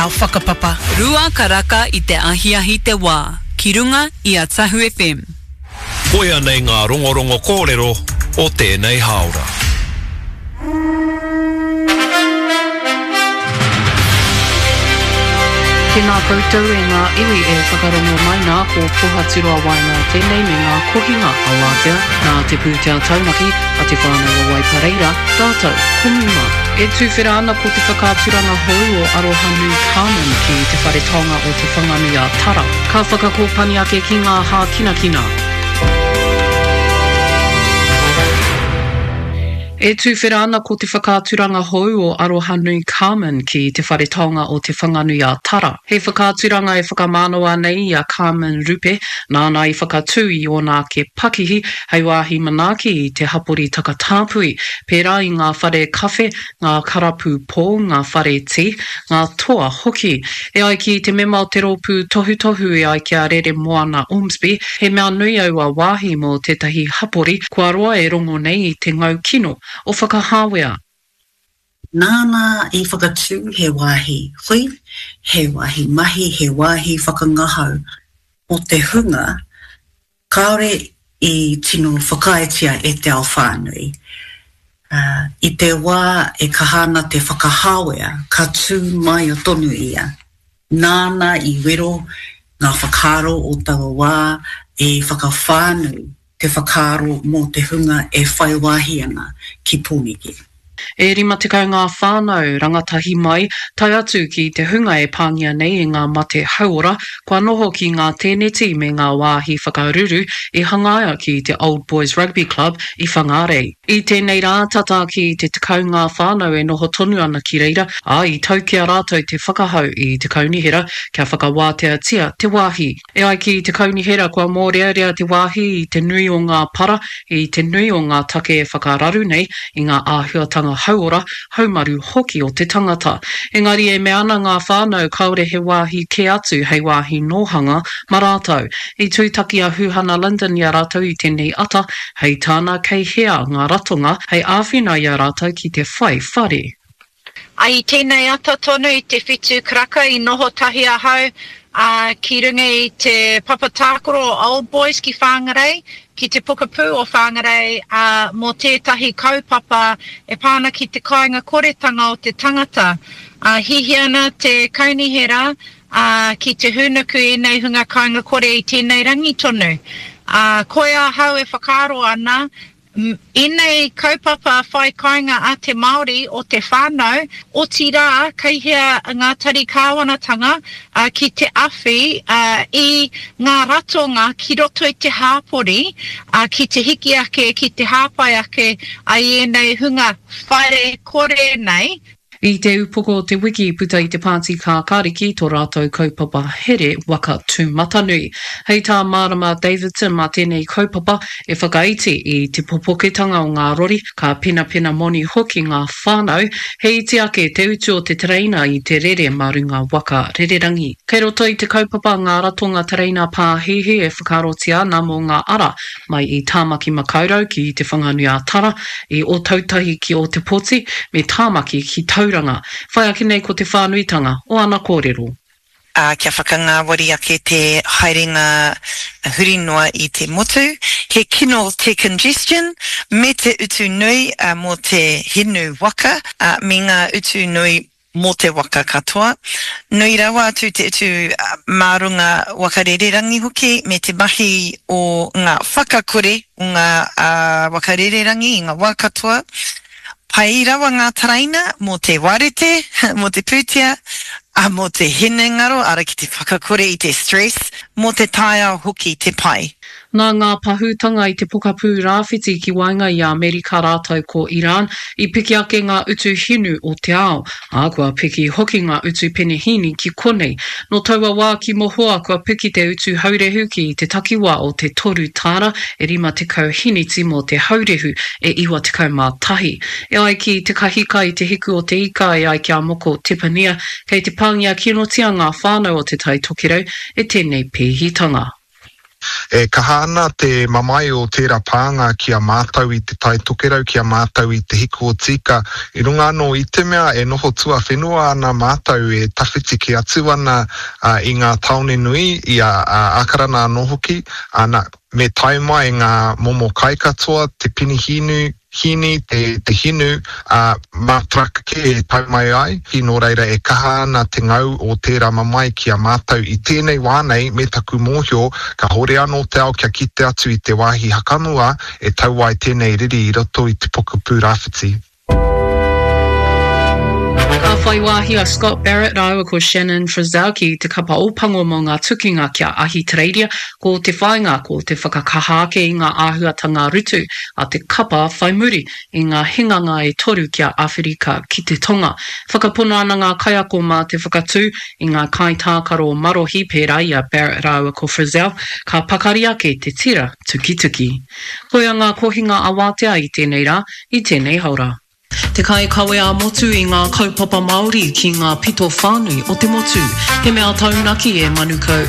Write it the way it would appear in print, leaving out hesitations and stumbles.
Our whakapapa. Karaka i te ahiahi te wā, ki runga i a Tahu FM. Koia nei ngā rongorongo kōrero o tēnei hāora. Tēnā koutou e ngā iwi e whakarongo mai nā, ko Pohaturoa Waenga tēnei me ngā kohinga a Wātea, nā te pūtea taunaki a Te Whānau o Waipareira rātou ko Muma. E tuwhera ana ko te whakaaturanga hou o Arohanui Carmen ki Te Whare Taonga o Te Whanganui a Tara. Ka whakakōpani ake ki ngā hākinakina. E tuwhera ana ko te whakaaturanga hou o Arohanui Carmen ki Te Whare Taonga o Te Whanganui a Tara. He whakaaturanga e whakamānawa nei i a Carmen Rupe, nāna i whakatū i ōna ake pakihi hei wāhi manaaki i te hapori takatāpui, pērā i ngā whare kawhe, ngā karapu pō, ngā whare tī, ngā toa hoki. E ai ki te mema o te rōpū tohutohu e ai ki a Reremoana Ormsby, he mea nui aua wāhi mō tētahi hapori kua roa e rongo nei i te ngau kino o Whakahāwea. Nāna i whakatū he wāhi hui, he wāhi mahi, he wāhi whakangahau mō te hunga kāore i tino whakaaetia e te ao whānui. I te wā e kaha ana te whakahāwea, ka tū māia tonu ia. Nāna i wero ngā whakaaro o taua wā i whakawhānui te whakaaro mō te hunga e whai wāhi ana ki Pōneke. E 50 ngā whānau, rangatahi mai, tae atu ki te hunga e pāngia nei e ngā mate hauora, kua noho ki ngā tēneti me ngā wāhi whakaruru i hangaia ki te Old Boys Rugby Club i Whangārei. I tēnei rā, tata ki te 10 ngā whānau e noho tonu ana ki reira, ā, i tau ki a rātou te whakahau i te kaunihera kia whakawāteatia te wāhi. E ai ki te kaunihera kua mōrearea te wāhi i te nui o ngā para, i te nui o ngā take e whakararu nei i ngā āhuatanga hauora, haumaru hoki o te tangata. Engari e mea ana ngā whānau kāore he wāhi kē atu hei wāhi nōhanga ma rātou. I tūtaki a Huhana Lyndon i a rātou i tēnei ata, hei tāna kei hea ngā ratonga hei āwhina i a rātou ki te whai whare. I tēnei ata tonu i te whitu karaka i noho tahi ahau ki runga i te papa tākaro o Old Boys ki Whangarei, ki te pokapū o Whangarei mō tētahi kaupapa e pā ana ki te kāinga koretanga o te tangata. Hihia ana te kaunihera ki te hūnuku ēnei hunga kāinga kore i tēnei rangi tonu. Koia ahau e whakaaro ana Ēnei kaupapa whai kāinga a te Māori o te whānau, otirā kei hea ngā tari kāwanatanga ki te awhi i ngā ratonga ki roto i te hāpori ki te hiki ake, ki te hāpai ake i ēnei hunga whare kore nei. I te upoko o te wiki i puta i te Pāti Kākāriki tō rātou kaupapa here waka tūmatanui. Hei tā Marama Davidson mā tēnei kaupapa e whakaiti i te popoketanga o ngā rori, ka penapena moni hoki ngā whānau, he iti ake te utu o te tereina i te rere mā runga waka rererangi. Kei roto i te kaupapa ngā ratonga tereina pāhihi e whakaarotia ana mō ngā ara mai i Tāmaki Makaurau ki Te Whanganui-ā-Tara, i Ōtautahi ki Ōtepoti, me Tāmaki ki Tauranga. Whai ake nei ko te whānuitanga o ana kōrero. Ā, kia whakangāwari ake te haerenga huri noa i te motu. He kino te congestion me te utu nui mō te hinu waka, ā, me ngā utu nui mō te waka katoa. Nui rawa atu te utu mā runga waka rererangi hoki me te mahi o ngā whakakore o ngā waka rererangi i ngā wā katoa. Pai rawa ngā taraina mō te warete, mō te pūtea, ā, mō te hinengaro, ara ki te whakakore i te stress, mō te taiao hoki te pai. Nā ngā pahūtanga i te pokapū rāwhiti ki waenga i a Amerika rātou ko Iran, i piki ake ngā utu hinu o te ao, ā, kua piki hoki ngā utu penehīni ki konei. Nō taua wā ki mohoa kua piki te utu haurehu ki te takiwā o te toru tāra e 50 hiniti mō te haurehu e 91. E ai ki Te Kahika i Te Hiku o Te Ika e ai ki a Moko Tepania, kei te pāngia kinotia ngā whānau o Te Tai Tokerau e tēnei pēhitanga. E kaha ana te mamae o tērā pānga ki a mātou i Te Tai Tokerau, ki a mātou i Te Hiku o Tīka, i runga anō i te mea e noho tuawhenua ana mātou e tawhiti kē atu ana i ngā tāone nui, i a Ākarana anō hoki, ana, me tae mai ngā momo kai katoa, te penihīnu, hīni, te, te hinu, ā, mā truck kē e tau mai ai, nō reira e kaha ana te ngau o tērā mamae ki a mātou i tēnei wā nei me taku mōhio kāore anō te ao kia kite atu i te wāhi hakamua e tau ai tēnei riri i roto i te pokapū rāwhiti. Ka whai wāhi a Scott Barrett rāua ko Shannon Frizzell ki te kapa Ōpango mō ngā tukinga ki a Ahitereiria. Ko te whāinga ko te whakakaha ake i ngā āhuatanga rutu a te kapa whai muri i ngā hinganga e toru ki a Awherika ki te Tonga. Whakapono ana ngā kaiako mā te whakatū i ngā kaitākaro marohi pērā i a Barrett rāua ko Frizzell, ka pakari ake te tira tukituki. Koia ngā kohinga awātea i tēnei rā, i tēnei haora. Te kaikawe ā-motu i ngā kaupapa Māori ki ngā pito whānui o te motu. He mea taunaki e Manukau.